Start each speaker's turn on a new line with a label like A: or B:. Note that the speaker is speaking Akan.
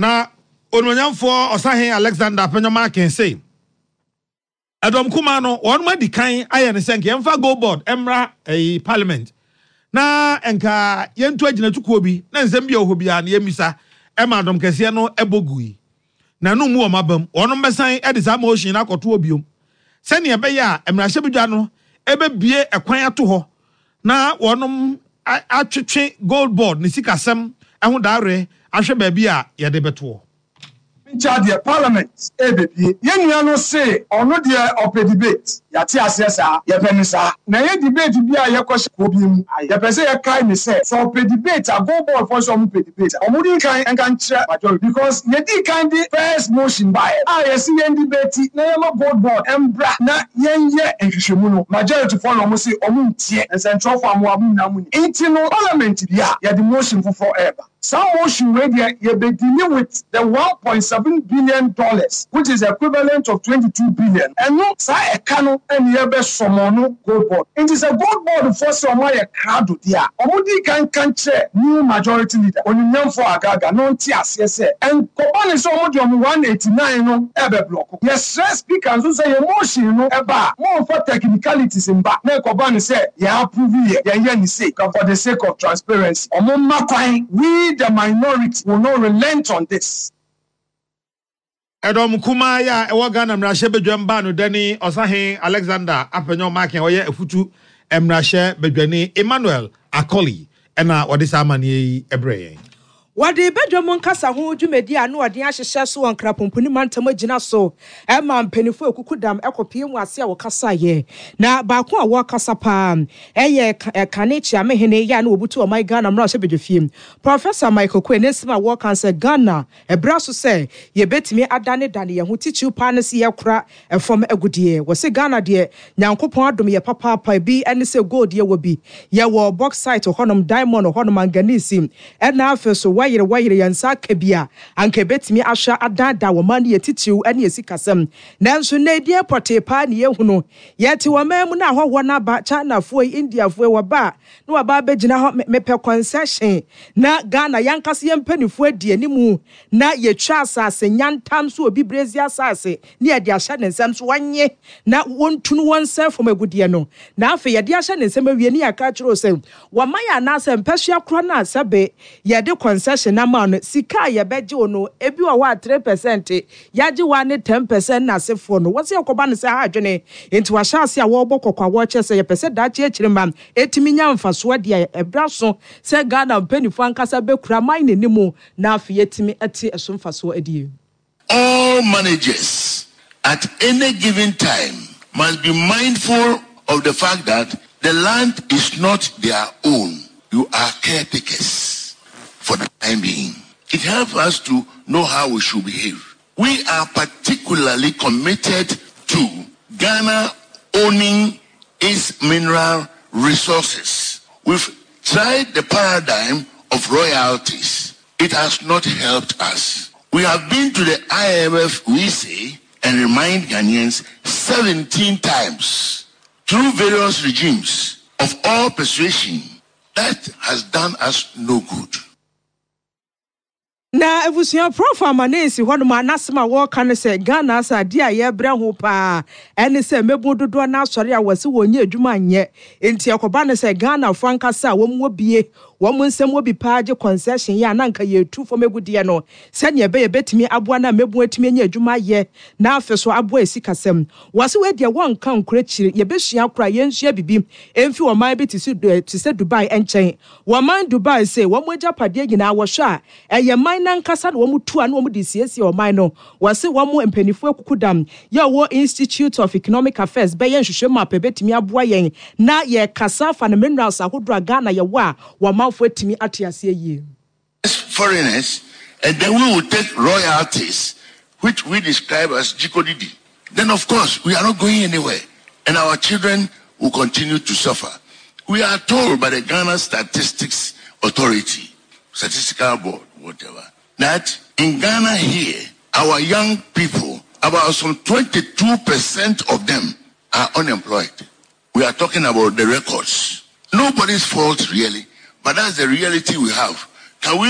A: Na Onimuonyamfoɔ Ɔsahen Alexander Afenyo-Markin se, Ɛdɔm kumaa no, wɔnom adi kan ayɛ no sɛ nka yɛmfa Gold Board mmra ɛyi Parliament na nka yɛntu agyinatukuo bi na nsɛm bi a ɛwɔ hɔ biara no yɛmmisa ɛma dɔm kɛseɛ no bɔ gui. Na ɛno mmu wɔn abam. Wɔnom bɛsan de saa motion no akɔto hɔ biom sɛdeɛ ɛbɛyɛ a mmarahyɛbadwa no bɛbue ɛkwan ato hɔ na wɔnom atwetwe Gold Board ne sikasɛm ho dawere ahwɛ baabi a yɛde bɛtoɔ.
B: Nkyɛ deɛ parliament ɛɛbɛbie. Yɛn nua no se ɔno deɛ ɔpɛ debate. Yɛate aseɛ saa. Yɛpɛ no saa. Na ɛnyɛ debate bi a yɛkɔhyɛ kuo bi mu. Yɛpɛ sɛ yɛkae no sɛ, sɛ ɔpɛ debate a, Gold Board foɔ sɛ ɔmo pɛ debate a, ɔmo di nkan nka nkyerɛ majority because yɛdii kan de first motion baeɛ a yɛse yɛn debate na yɛma Gold Board mbra na yɛnyɛ nhwehwɛmu no, majority foɔ na ɔmo se ɔmo ntie. Nsɛnkyerɛwfoɔ a mowɔ ha mo nyinaa mo nim. Nti no parliament wie a, yɛde motion foforɔ ɛɛba. Saa motion wei deɛ yɛbɛ deali with the $1.7 billion which is equivalent of 22 billion, ɛno saa ɛka no ɛne yɛbɛ sɔmɔn no Gold Board. Nti sɛ Gold Board foɔ sɛ ɔmo ayɛ krado deɛ a, ɔmo di kan nka nkyerɛ new majority leader, Onimnyamfoɔ Agaga na ɔnte aseɛ sɛ ɛnkɔba ne sɛ ɔmo de ɔmo 189 no ɛbɛ blɔko. Yɛsrɛ Speaker nso sɛ yɛn motion no ɛba a, monfa technicalities mba na ɛkɔba no sɛ yɛn approve yɛ, yɛn yɛ no sei for the sake of transparency. Ɔmo mma kwan, we the minority will not relent on this.
A: Ɛdɔm kumaa yi a ɛwɔ Ghana mmarahyɛbadwam baa no dani Ɔsahen Alexander Afenyo Markin a ɔyɛ Afutu mmarahyɛbadwani Emmanuel Akoli na wɔde saa amanneɛ yi brɛɛ yɛn.
C: Wɔde badwam nkasa ho dwumadi a ano ɔden ahyehyɛ so wɔ Nkrapomponi mantam agyina so ma mpanyimfo akukudam kɔpue mu ase a wɔkasaeɛ. Na baako a wɔrekasa paa yɛ kane Kyeamehene yɛ a na wɔbutu ɔman Ghana mmarahyɛbadwafie, Professor Michael Quaye ne nsɛm a wɔreka sɛ Ghana ɛberɛ aso sɛ yɛbɛtumi adanedane yɛn ho titiriw paa ne sɛ yɛkora fam agudeɛ. Wɔse Ghana deɛ Nyankopɔn adom yɛ papaapa ebi ne sɛ gold yɛwɔ bi, yɛwɔ bauxite hɔnom, diamond hɔnom, manganese ɛna afei so wɔyere wɔyere yɛn nsa aka bi a anka ɛbɛtumi ahwɛ adaadaa wɔn man no yɛ titiriw ne yɛ sikasɛm. Nanso nnɛ deɛ pɔtee paa ne yɛhunu. Yɛte ɔman mu na ahɔhoɔ no aba, Chinafoɔ yi, Indiafoɔ yi, wɔba a na wɔaba abɛgyina hɔ, mepɛ concession na Ghana yɛankasa yɛn mpaninfoɔ adi animu na yɛtwa asase nyantam so obi brɛzi asase ne yɛde ahyɛ ne nsam so ɔnye na wɔntu no wɔnsɛe fam agudeɛ no na afei yɛde ahyɛ ne nsam awie ne yɛaka akyerɛ wo sɛ wɔma yɛ anaasɛ mpɛsoa korɔ no a sɛbe yɛde concession ama no sika a yɛbɛgye wo no ebi wɔ hɔ a 3% yɛagye wo a ne 10% na asefoɔ no wɔsɛ yɛkɔba no sɛ ha adwene nti wahyɛ ase a wɔrebɔ kɔkɔ a wɔrekyerɛ sɛ yɛpɛ sɛ daakye akyiri mma ɛtumi nya mfasoɔ deɛ ɛberɛ so sɛ Ghana mpanimfoɔ ankasa bɛkura man n'anim na afei yɛatumi ate ɛso mfasoɔ adie.
D: All managers at any given time must be mindful of the fact that the land is not their own. You are caretakers for the time being. It helps us to know how we should behave. We are particularly committed to Ghana owning its mineral resources. We've tried the paradigm of royalties. It has not helped us. We have been to the IMF, we say, and remind Ghanaians 17 times through various regimes of all persuasion that has done us no good.
C: Na abusua Prof Amanesi hɔnom a n'asɛm a wɔreka ne sɛ Ghana asa adeɛ a yɛrebrɛ ho paa ɛne sɛ mmabun dodoɔ no asɔre a wɔse wɔnnya adwuma nyɛ nti ɛkɔba no sɛ Ghanafoɔ ankasa a wɔn wɔ bie wɔn nsam wɔ bi paa gye concession yɛ a na anka yɛretu fam agudeɛ no sɛdeɛ ɛbɛyɛ ɛbɛtumi aboa na mmabun atumi anya adwuma ayɛ na afe so aboa yɛ sikasɛm. Wɔse wei deɛ wɔnka nkora akyire yɛbɛsua koraa yɛnsua bibi mfi ɔman bi te sɛ Dubai nkyɛn. Wɔman Dubai se wɔn agyapadeɛ nyinaa wɔhwɛ a ɛyɛ man no ankasa na wɔn tu a na wɔn de siesie ɔman no. Wɔse wɔn mpaninfoɔ akukudam yɛ ɔwɔ Institute of Economic Affairs bɛyɛ nhwehwɛmu apɛ bɛtumi aboa yɛn na yɛkasa afa no minerals ahodoɔ a Ghana yɛwɔ a wɔn manfoɔ atumi ate aseɛ yie.
D: Foreigners and then we will take royalties which we describe as jikodidi then of course we are not going anywhere and our children will continue to suffer. We are told by the Ghana Statistics Authority, Statistical Board, whatever, that in Ghana here, our young people, about some 22% of them are unemployed. We are talking about the records. Nobody's fault really, but that's the reality we have. Can we